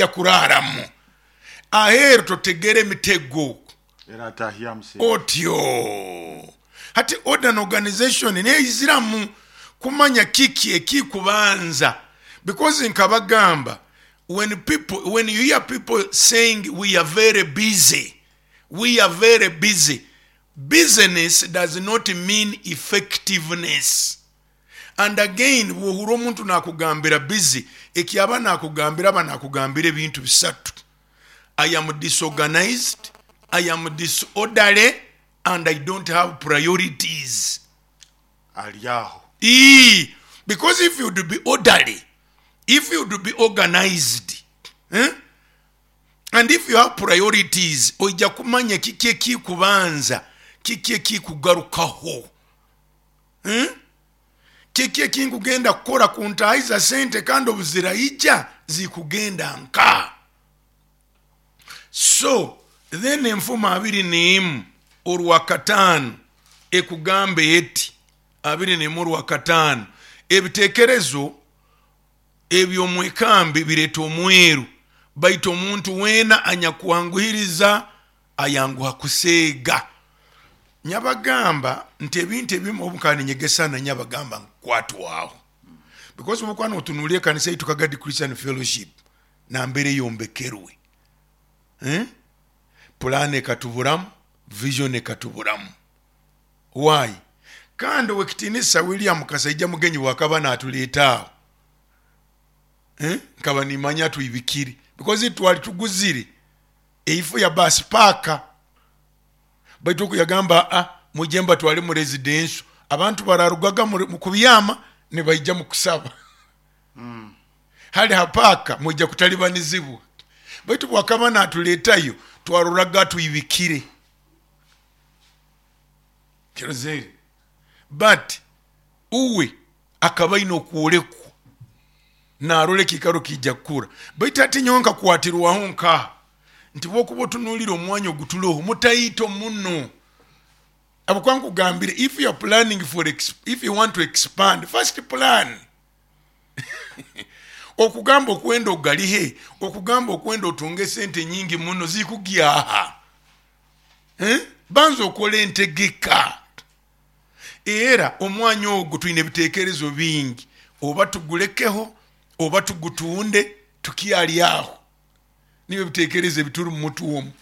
Yakuraaramu aheeru, totegera emitego. Eratahyamu sente. Otyo hati order and organization neiziramu kumanya kiki ekikubanza, because nkabagamba, when you hear people saying we are very busy, we are very busy, business does not mean effectiveness. And again, bwohura omuntu nakugambira busy, ekyaba nakugambira, aba nakugambira ebintu bisatu: I am disorganized, I am disorderly, and I don't have priorities. Ali aho. Because if you'd be orderly, if you'd be organized, And if you have priorities, oija kumanya kiki ekikubanza, kiki ekikugarukaho, Kiki ekinkugenda kukora kuntahiza sente, kandi obuziraija zikugenda nka. So then Enfumo 21:5 ekugamba eti, 21:5, ebitekerezo eby'omwekambi bireeta omweru, baitu omuntu weena anyakwanguhiriza ayanguha kuseega. Nyabagamba nti ebintu ebimu obu nkaba ninyegesa, na nyabagamba nkukwatwaho, because obu okuba notunuulira ekanisa yaitu Kagadi Christian Fellowship nambere eyombekerwe, Plan ekatuburamu, vision ekatuburamu. Why? Kandi ow'ekitiinisa William Kasaija Mugenyi bwakaba natuleeta aho, Nkaba nimanya twibikire, because twali tuguzire eifo ya bus park, baitu oku yagamba, mwije mbatwale mu residential, abantu bararugaga mu kubyama nibaija mu kusaba. Hali ha paaka mwija kutalibanizibwa. Baitu bwakaba natuleetayo, twaroraga twibikire kirozere, but uwe akaba aine okwolekwa narora ekiikaro kiija kukura. Baitu hati nyowe nkakwatirwaho nkaha nti bwokuba otunuulire omwanya ogutuloho mutaito muno, habwokuba nkugambire, if you are planning for if you want to expand, first plan. Okugamba okwenda ogalihe, okugamba okwenda otunge sente nyingi muno zikugyaha, Banza okole entegeka. Era omwanya ogu twine ebitekerezo bingi, oba tugulekeho oba tugutunde, tukyali aho. Nibyo ebitekerezo ebituri mu mutwe omu,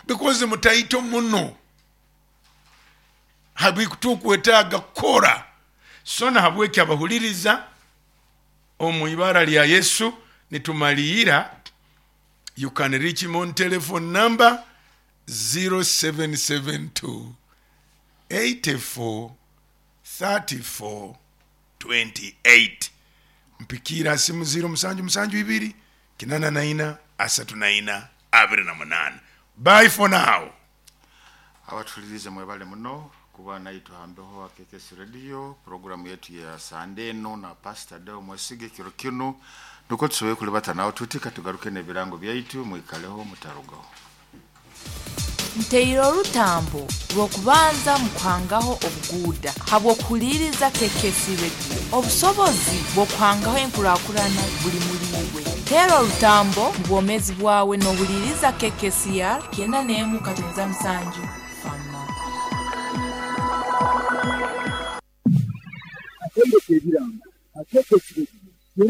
because mutaito muno habitukwetaaga kukora. So nahabweki abahuliriza, omu ibara lya Yesu nitumaliira. You can reach him on telephone number 0772 84 34 28. Mpikiira ha simu 0772 84 34 28. Bye for now. Abatuhulirize mwebale muno kuba naitwe ha mbeho ha KKC Radio, puroguramu yetu ya Sande eno na Pastor Deo Mwesige. Kiro kinu nukwo tusoboire kulibata nawe tuti, katugaruke n'ebirango byaitu, mwikaleho mutarugaho. Nteire orutambo rw'okubanza mu kuhangaho obuguuda habw'okuhuliiriza KKC Radio. Obusobozi bw'okuhangaho enkurakurana buli muli iwe. Teera orutambo mu bwomeezi bwawe n'ohuliiriza KKCR 91.7 Fama. Akaire k'ebirango ha KKC Radio.